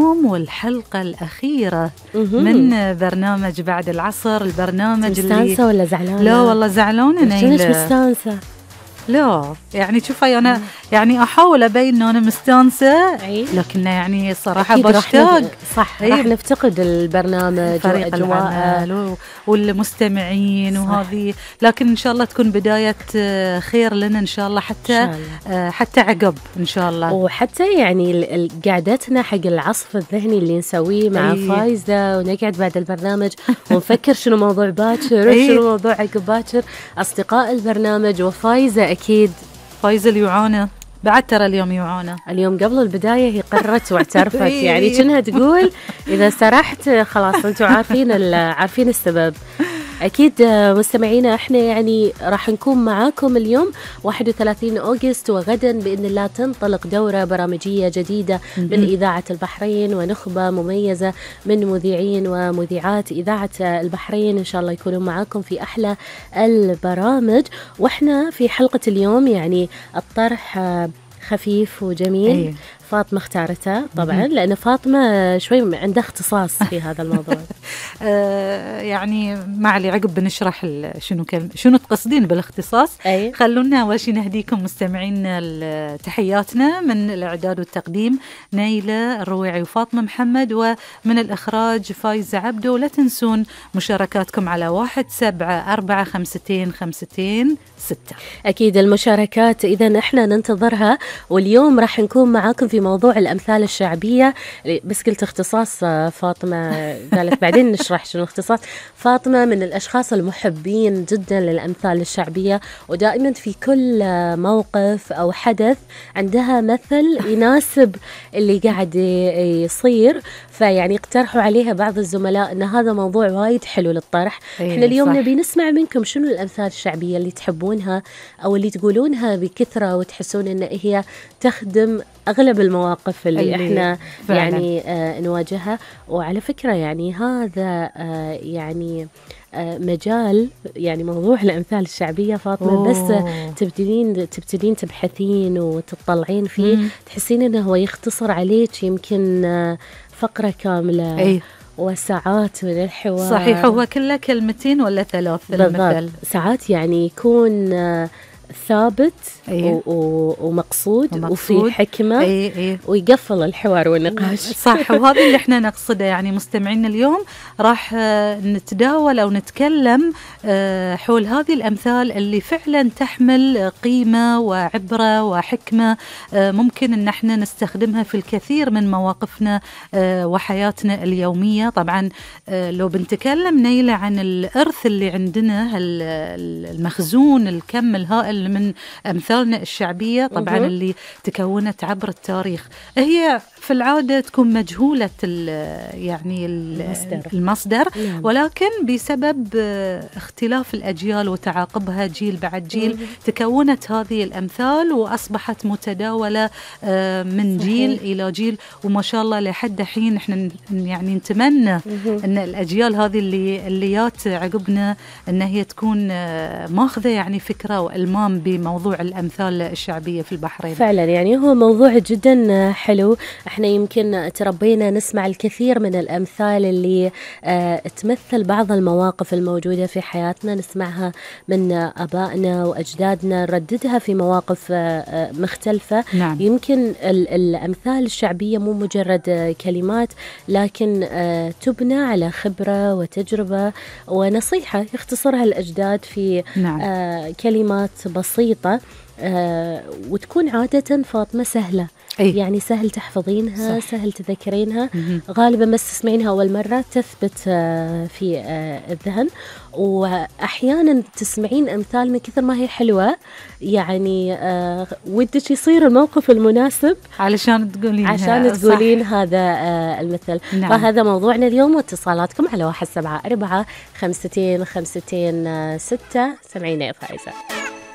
اليوم والحلقة الأخيرة من برنامج بعد العصر. البرنامج اللي مستانسة ولا زعلانة؟ لا والله زعلانة نيلة. مستانسة؟ لا يعني شوفي أنا يعني أحاول أبين إنه أنا مستانسة، لكن يعني صراحة بشتاق. صح، راح نفتقد البرنامج فريق العمل والمستمعين وهذه، لكن إن شاء الله تكون بداية خير لنا إن شاء الله، حتى عقب إن شاء الله، وحتى يعني قعدتنا حق العصف الذهني اللي نسويه مع فايزة، ونقعد بعد البرنامج ونفكر شنو موضوع باكر وشنو موضوع عقب باكر. أصدقاء البرنامج وفايزة أكيد، فايزة اليوعانة بعد، ترى اليوم يوعانة. اليوم قبل البداية هي قررت واعترفت يعني كأنها تقول إذا سرحت خلاص أنتوا عارفين السبب. أكيد مستمعينا، احنا يعني راح نكون معاكم اليوم 31 أغسطس، وغدا بإذن الله تنطلق دورة برامجية جديدة من إذاعة البحرين، ونخبة مميزة من مذيعين ومذيعات إذاعة البحرين إن شاء الله يكونوا معاكم في أحلى البرامج. وإحنا في حلقة اليوم يعني الطرح خفيف وجميل. فاطمة اختارتها طبعا لأن فاطمة شوي عندها اختصاص في هذا الموضوع. يعني ما علي، عقب بنشرح شنو تقصدين بالاختصاص. خلونا أول شيء نهديكم مستمعين تحياتنا من الإعداد والتقديم نيلة الرويعي وفاطمة محمد، ومن الإخراج فايزة عبدو. ولا تنسون مشاركاتكم على 17452526. أكيد المشاركات إذا إحنا ننتظرها، واليوم راح نكون معاكم في موضوع الأمثال الشعبية. بس قلت اختصاص فاطمة قالت بعدين نشرح شنو اختصاص. فاطمة من الأشخاص المحبين جدا للأمثال الشعبية، ودائما في كل موقف أو حدث عندها مثل يناسب اللي قاعد يصير، فيعني اقترحوا عليها بعض الزملاء أن هذا موضوع وايد حلو للطرح. احنا اليوم نبي نسمع منكم شنو الأمثال الشعبية اللي تحبونها أو اللي تقولونها بكثرة وتحسون أن هي تخدم أغلب المواقف اللي احنا فعلا يعني نواجهها. وعلى فكرة يعني هذا يعني مجال، يعني موضوع الأمثال الشعبية فاطمة بس تبتدين تبحثين وتطلعين فيه تحسين أنه هو يختصر عليك يمكن فقرة كاملة. وساعات من الحوار. صحيح، هو كله كلمتين ولا 3 المثل. ساعات يعني يكون ثابت ومقصود وفي حكمة ويقفل الحوار والنقاش. صح، وهذا اللي احنا نقصده. يعني مستمعين اليوم راح نتداول أو نتكلم حول هذه الأمثال اللي فعلا تحمل قيمة وعبرة وحكمة، ممكن ان احنا نستخدمها في الكثير من مواقفنا وحياتنا اليومية. طبعا لو بنتكلم نيلة عن الإرث اللي عندنا، المخزون الكم الهائل من أمثالنا الشعبية طبعا اللي تكونت عبر التاريخ، هي في العادة تكون مجهولة يعني المصدر، ولكن بسبب اختلاف الأجيال وتعاقبها جيل بعد جيل تكونت هذه الأمثال وأصبحت متداولة من جيل إلى جيل. وما شاء الله لحد حين احنا يعني نتمنى أن الأجيال هذه اللي جات عقبنا أن هي تكون ماخذة يعني فكرة وإلمام بموضوع الأمثال الشعبية في البحرين. فعلا يعني هو موضوع جدا حلو. احنا يمكن تربينا نسمع الكثير من الأمثال اللي تمثل بعض المواقف الموجودة في حياتنا، نسمعها من أبائنا وأجدادنا، نرددها في مواقف مختلفة. نعم. يمكن الأمثال الشعبية مو مجرد كلمات، لكن تبنى على خبرة وتجربة ونصيحة يختصرها الأجداد في كلمات بسيطة، وتكون عادة فاطمة سهلة. يعني سهل تحفظينها، سهل تذكرينها، غالبا بس تسمعينها أول مرة تثبت في الذهن. وأحيانا تسمعين أمثال من كثر ما هي حلوة يعني ودك يصير الموقف المناسب عشان تقولين هذا المثل. نعم. فهذا موضوعنا اليوم، واتصالاتكم على 17452526. سمعينا يا فايزة.